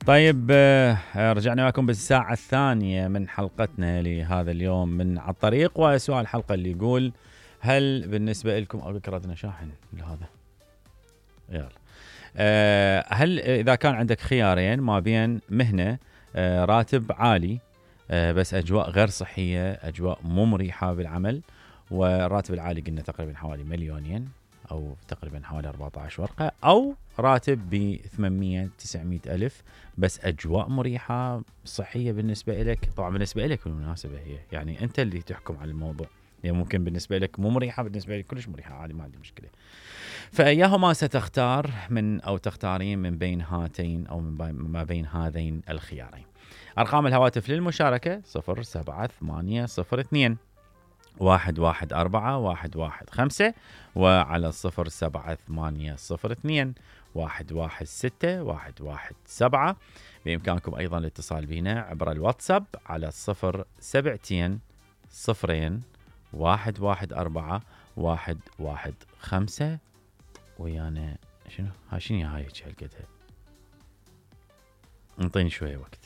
طيب رجعنا لكم بالساعة الثانية من حلقتنا لهذا اليوم من على الطريق، وسؤال الحلقة اللي يقول: هل بالنسبة لكم ردنا شاحن لهذا؟ يلا. هل إذا كان عندك خيارين ما بين مهنة راتب عالي بس أجواء غير صحية، أجواء مو مريحة بالعمل، والراتب العالي قلنا تقريبا حوالي 2,000,000 أو تقريبا حوالي 14 ورقة، أو راتب ب 800-900 ألف بس أجواء مريحة صحية بالنسبة لك. طبعا بالنسبة لك بالمناسبة هي يعني أنت اللي تحكم على الموضوع، يعني ممكن بالنسبة لك مو مريحة، بالنسبة لك كلش مريحة عادي، ما عندي مشكلة. فأيهما ستختار من أو تختارين من بين هاتين أو ما بين هذين الخيارين؟ أرقام الهواتف للمشاركة 078802 114 115، وعلى 078802 116 بإمكانكم أيضا الاتصال بنا عبر الواتساب على 0700 114 115. ويانا شنو هاي هالقدها، انطيني شوية وقت.